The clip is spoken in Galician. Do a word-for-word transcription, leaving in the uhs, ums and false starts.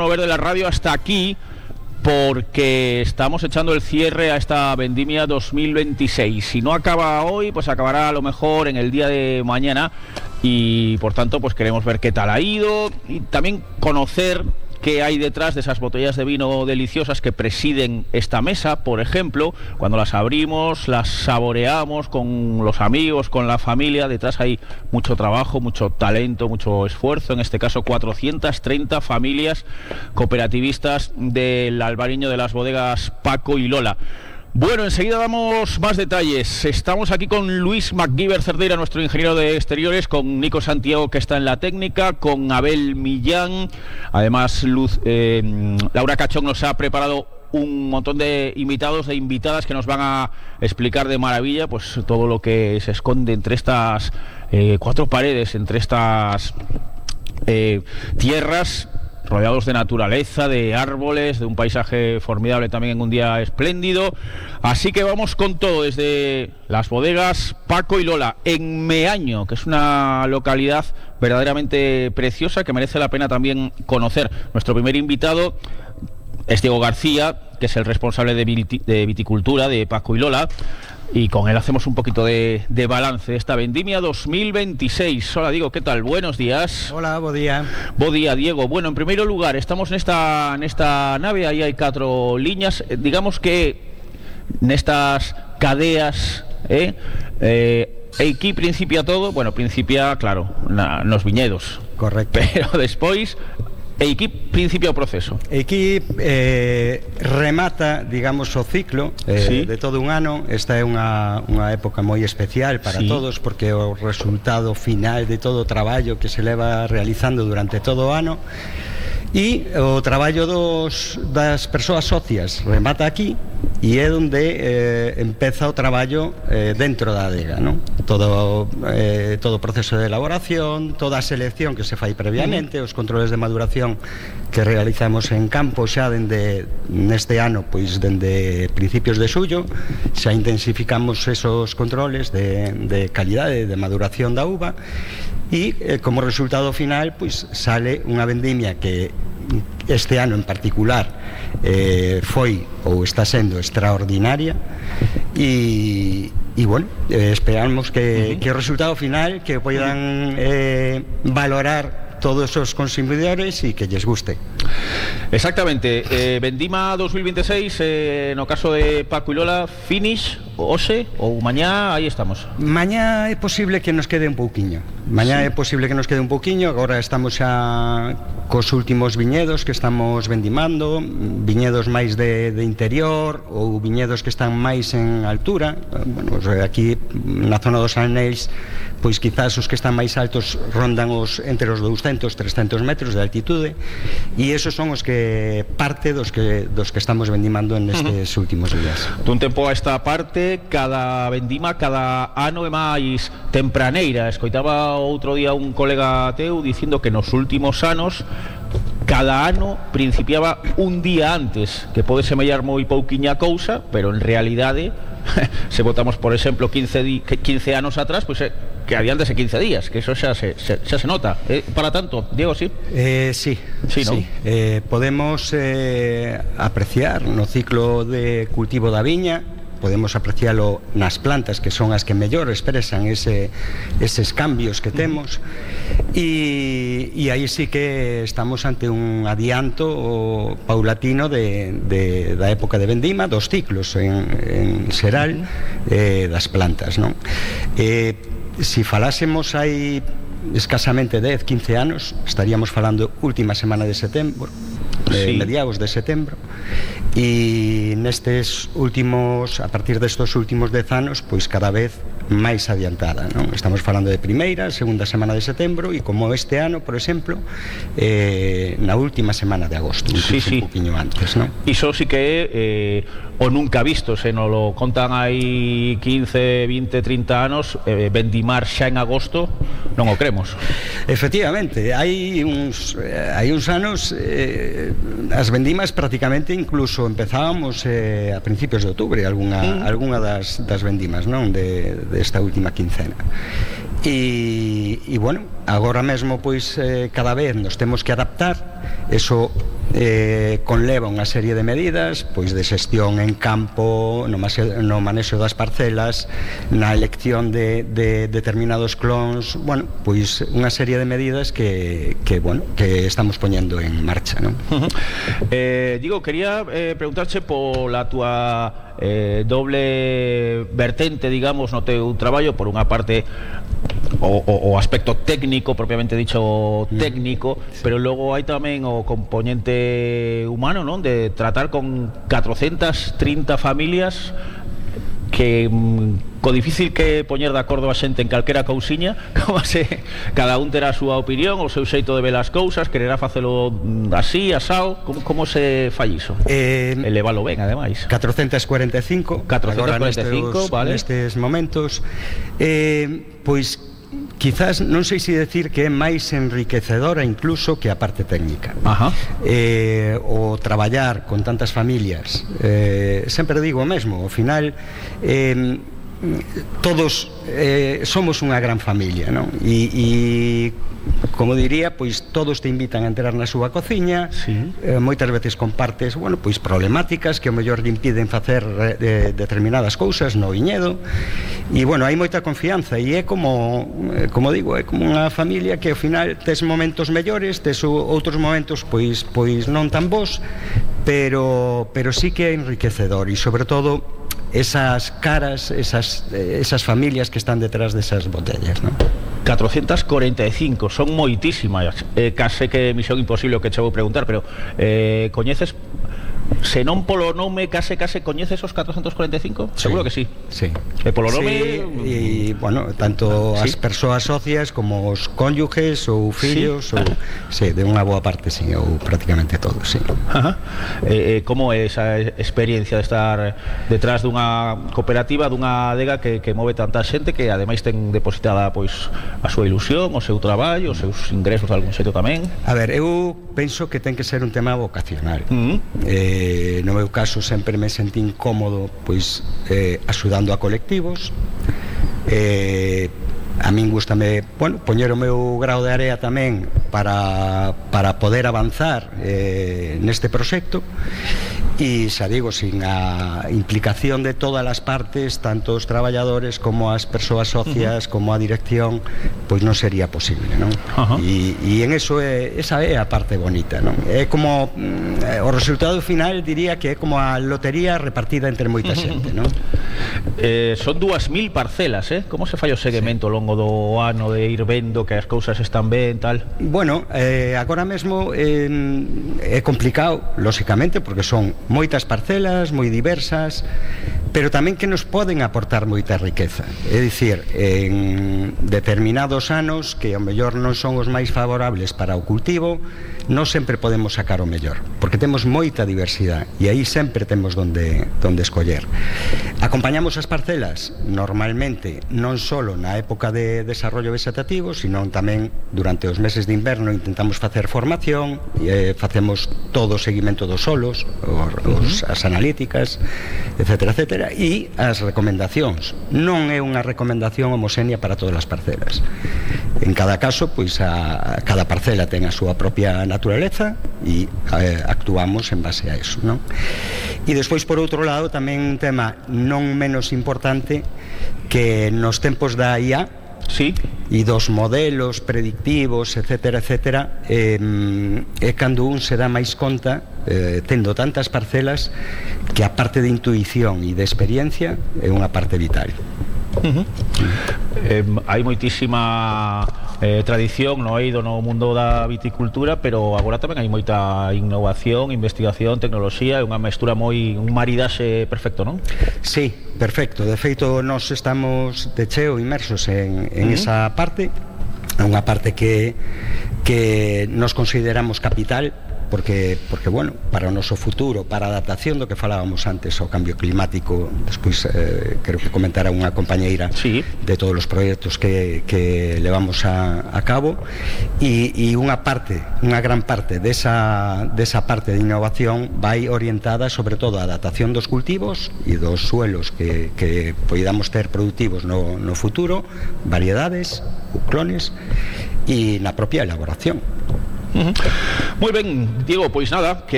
mover de la radio hasta aquí porque estamos echando el cierre a esta vendimia dos mil veintiséis. Si no acaba hoy, pues acabará a lo mejor en el día de mañana y por tanto pues queremos ver qué tal ha ido y también conocer qué hay detrás de esas botellas de vino deliciosas que presiden esta mesa. Por ejemplo, cuando las abrimos, las saboreamos con los amigos, con la familia. Detrás hay mucho trabajo, mucho talento, mucho esfuerzo. En este caso, cuatrocientas treinta familias cooperativistas del Albariño de las bodegas Paco y Lola. Bueno, enseguida damos más detalles. Estamos aquí con Luis MacGyver Cerdeira, nuestro ingeniero de exteriores, con Nico Santiago, que está en la técnica, con Abel Millán. Además, Luz, eh, Laura Cachón nos ha preparado un montón de invitados, de invitadas que nos van a explicar de maravilla pues todo lo que se esconde entre estas eh, cuatro paredes, entre estas eh, tierras, rodeados de naturaleza, de árboles, de un paisaje formidable también en un día espléndido. Así que vamos con todo, desde las bodegas Paco y Lola, en Meaño, que es una localidad verdaderamente preciosa que merece la pena también conocer. Nuestro primer invitado es Diego García, que es el responsable de, viti- de viticultura de Paco y Lola, y con él hacemos un poquito de, de balance de esta vendimia dos mil veintiséis. Hola, Diego, ¿qué tal? Buenos días. Hola, bo día. Bo día, Diego. Bueno, en primer lugar, estamos en esta, en esta nave, ahí hay cuatro líneas, eh, digamos que en estas cadeas, eh, eh, aquí principia todo, bueno, principia, claro, na, nos viñedos. Correcto. Pero despois, e aquí principia o proceso? Aquí eh, remata, digamos, o ciclo eh, sí. de todo un ano. Esta é unha, unha época moi especial para sí. todos, porque é o resultado final de todo o traballo que se leva realizando durante todo o ano. E o traballo dos, das persoas socias remata aquí e é onde eh, empeza o traballo eh, dentro da adega, non? Todo, eh, todo o proceso de elaboración, toda a selección que se fai previamente, os controles de maduración que realizamos en campo xa dende neste ano, pois dende principios de xullo, xa intensificamos esos controles de, de calidade de maduración da uva e eh, como resultado final pois sale unha vendimia que este ano en particular eh, foi ou está sendo extraordinaria e, e bueno, eh, esperamos que, uh-huh. que o resultado final que poidan eh, valorar todos os consumidores e que lles guste. Exactamente, eh, vendima dos mil veintiséis, eh, no caso de Paco y Lola, finish, hoxe ou mañá, aí estamos. Mañá é posible que nos quede un pouquiño. Mañá sí. é posible que nos quede un pouquiño. Agora estamos xa cos últimos viñedos que estamos vendimando, viñedos máis de, de interior ou viñedos que están máis en altura. Bueno, aquí na zona dos Aneis, pois quizás os que están máis altos rondan os entre os douscentos, trescentos metros de altitude, e esos son os que parte dos que dos que estamos vendimando nestes uh-huh. últimos días. Dun tempo a esta parte, cada vendima, cada ano é máis tempraneira. Escoitaba outro día un colega teu dicindo que nos últimos anos cada ano principiaba un día antes, que pode semellar moi pouquiña cousa, pero en realidade se votamos, por exemplo, quince, di, quince anos atrás, pois pues, eh, que adiántese quince días, que eso xa se, se, xa se nota. Eh, para tanto, Diego, sí? Eh, sí, sí, ¿no? sí. Eh, podemos eh, apreciar no ciclo de cultivo da viña, podemos aprecialo nas plantas, que son as que mellor expresan ese, eses cambios que temos, e, e aí sí que estamos ante un adianto paulatino de, de, da época de vendima, dos ciclos en, en xeral eh, das plantas, non? Eh, si falásemos hai escasamente dez, quince anos, estaríamos falando última semana de setembro, de sí. mediados de setembro, e nestes últimos, a partir destos últimos dez anos, pois cada vez máis adiantada, non? Estamos falando de primeira, segunda semana de setembro, e como este ano, por exemplo, eh, na última semana de agosto, incluso sí, sí. un poquinho antes, non? Iso sí que é eh, o nunca visto, se nos lo contan hai quince, vinte, trinta anos, eh, vendimar xa en agosto, non o cremos. Efectivamente, hai uns, eh, hai uns anos eh, as vendimas prácticamente incluso empezábamos eh, a principios de outubro, algunha, mm. algunha das, das vendimas, non? De, de esta última quincena. e, e bueno, agora mesmo pois eh, cada vez nos temos que adaptar. Eso eh, conleva unha serie de medidas pois de xestión en campo, no, mase, no manexo das parcelas, na elección de, de determinados clons, bueno, pois unha serie de medidas que, que bueno, que estamos poñendo en marcha, non? Uh-huh. eh, digo, quería eh, preguntarche pola túa eh, doble vertente, digamos, no teu traballo, por unha parte o, o, o aspecto técnico, propiamente dicho técnico, sí. Pero logo hai tamén o componente humano, non? De tratar con catrocentas trinta familias que mm, co difícil que poñer de acordo a xente en calquera cousiña, como se cada un terá a súa opinión, o seu xeito de ver as cousas, quererá facelo así, asao, como, como se fai iso? Eh, Elevalo ben, ademais. catrocentas cuarenta e cinco, catrocentas cuarenta e cinco, nestes, vale. Nestes momentos, eh, pois quizás non sei se decir que é máis enriquecedora incluso que a parte técnica. Ajá. Eh, o traballar con tantas familias, eh, sempre digo o mesmo, ao final eh, todos eh, somos unha gran familia, non? E, e como diría, pois todos te invitan a entrar na súa cociña, sí. eh, moitas veces compartes, bueno, pois problemáticas que ao mellor lle impiden facer eh, determinadas cousas no viñedo, e bueno, hai moita confianza, e é como, eh, como digo, é como unha familia que ao final tes momentos mellores, tes outros momentos pois pois non tan bons, pero pero sí que é enriquecedor, e sobre todo esas caras, esas, esas familias que están detrás desas botellas, ¿no? catrocentas cuarenta e cinco, son moitísimas. eh, Case que misión imposible o que che vou preguntar, pero eh, coñeces, se non polo nome, case case coñeces os catrocentas cuarenta e cinco? Sí. Seguro que sí. Sí. E polo nome... Sí, e, bueno, tanto ¿sí? as persoas socias como os cónyuges ou fillos, ¿sí? Ou, sí, de unha boa parte, sí, ou prácticamente todos, sí. Ajá. Eh, eh, como é esa experiencia de estar detrás dunha cooperativa, dunha adega que, que move tanta xente, que ademais ten depositada pois a súa ilusión, o seu traballo, os seus ingresos de algún xeito tamén? A ver, eu penso que ten que ser un tema vocacional. Uh-huh. eh, Eh, no meu caso sempre me sentí incómodo pois eh, axudando a colectivos, eh, a min gustame, bueno, poñer o meu grao de area tamén para, para poder avanzar eh, neste proxecto, e xa digo, sin a implicación de todas as partes, tanto os traballadores como as persoas socias, uh-huh. como a dirección, pois non sería posible, non? Uh-huh. E, e en eso é, esa é a parte bonita, non? É como mm, o resultado final, diría que é como a lotería repartida entre moita xente, non? Eh, son dúas mil parcelas, eh? Como se fai o seguimento ao longo do ano de ir vendo que as cousas están ben, tal? Bueno, eh, agora mesmo eh, é complicado, lóxicamente, porque son moitas parcelas, moi diversas, pero tamén que nos poden aportar moita riqueza. É dicir, en determinados anos que ao mellor non son os máis favorables para o cultivo, non sempre podemos sacar o mellor, porque temos moita diversidade e aí sempre temos donde, donde escoller. Acompañamos as parcelas normalmente non só na época de desarrollo vegetativo, sino tamén durante os meses de inverno intentamos facer formación, e, eh, facemos todo o seguimento dos solos, os, os, as analíticas, etcétera, etcétera, e as recomendacións. Non é unha recomendación homoxénea para todas as parcelas. En cada caso, pois a, a cada parcela ten a súa propia naturaleza e eh, actuamos en base a eso, non? E despois, por outro lado, tamén un tema non menos importante, que nos tempos da I A, sí, e dos modelos predictivos, etcétera, etcétera, eh, é cando un se dá máis conta, eh, tendo tantas parcelas, que a parte de intuición e de experiencia é unha parte vital. Uh-huh. eh, hai moitísima eh, tradición no eido no mundo da viticultura, pero agora tamén hai moita innovación, investigación, tecnoloxía, é unha mestura moi, un maridaxe perfecto, non? Sí, perfecto. De feito, nós estamos de cheo inmersos en, en uh-huh. esa parte, unha parte que, que nos consideramos capital, porque, porque bueno, para o noso futuro, para a adaptación do que falábamos antes ao cambio climático, despois eh, creo que comentará unha compañeira sí. de todos os proxectos que, que levamos a, a cabo, e, e unha parte, unha gran parte desa, desa parte de innovación vai orientada sobre todo a adaptación dos cultivos e dos suelos que, que poidamos ter productivos no, no futuro, variedades, clones, e na propia elaboración. Uh-huh. Moi ben, Diego, pois nada, que